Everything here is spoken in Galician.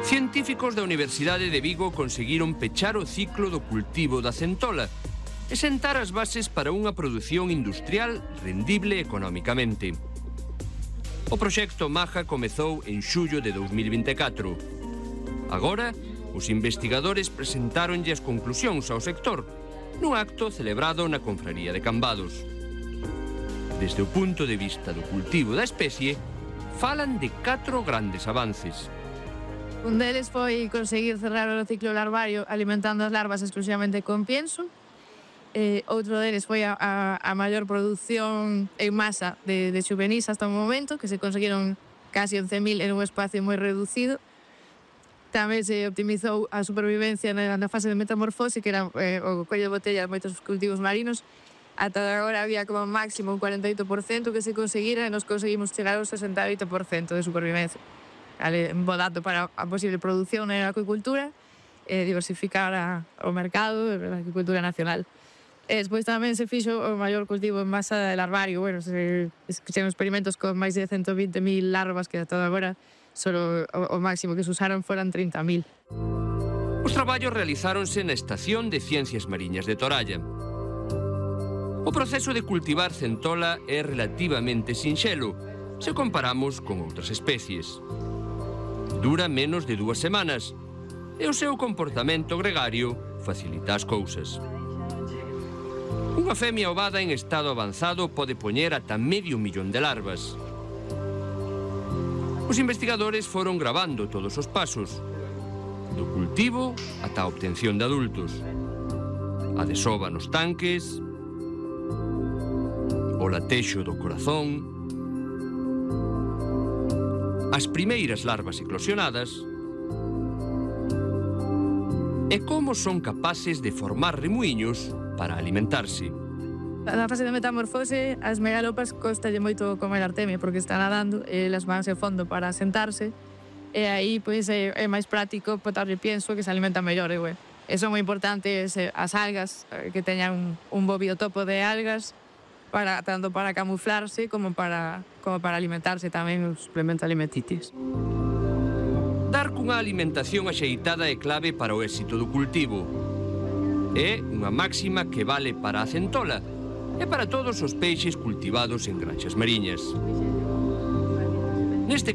Científicos da Universidade de Vigo conseguiron pechar o ciclo do cultivo da centola e sentar as bases para unha produción industrial rendible economicamente. O proxecto Maja comezou en xullo de 2024. Agora, os investigadores presentáronlle as conclusións ao sector nun acto celebrado na Confraría de Cambados. Desde o punto de vista do cultivo da especie, falan de 4 grandes avances. Un deles foi conseguir cerrar o ciclo larvario alimentando as larvas exclusivamente con pienso. Outro deles foi a maior produción en masa de xuvenís hasta o momento, que se conseguiron casi 11.000 en un espacio moi reducido. Tamén se optimizou a supervivencia na fase de metamorfose, que era o collo de botella de moitos cultivos marinos. Ata agora había como máximo un 48% que se conseguira e nos conseguimos chegar ao 68% de supervivencia. Un bo dato para a posible produción na acuicultura e diversificar o mercado da acuicultura nacional. Despois tamén se fixo o maior cultivo en masa de larvario. Bueno, se fixeron experimentos con máis de 120.000 larvas, que ata agora solo o máximo que se usaron foran 30.000. Os traballos realizáronse na Estación de Ciencias Mariñas de Toralla. O proceso de cultivar centola é relativamente sinxelo se comparamos con outras especies. Dura menos de 2 semanas e o seu comportamento gregario facilita as cousas. Unha femia ovada en estado avanzado pode poñer ata 500.000 de larvas. Os investigadores foron gravando todos os pasos, do cultivo ata a obtención de adultos, a desova nos tanques, o latexo do corazón, as primeiras larvas eclosionadas e como son capaces de formar remuiños para alimentarse. Na fase de metamorfose, as megalopas costalle moito comer artemia porque está nadando e elas vanse ao fondo para sentarse e aí pois é máis práctico botarlle pienso que se alimenta mellor. E son moi importantes as algas, que teñan un bo biotopo de algas tanto para camuflarse como para alimentarse tamén os suplementos alimenticios. Dar cunha alimentación axeitada é clave para o éxito do cultivo. É unha máxima que vale para a centola e para todos os peixes cultivados en granxas mariñas. Neste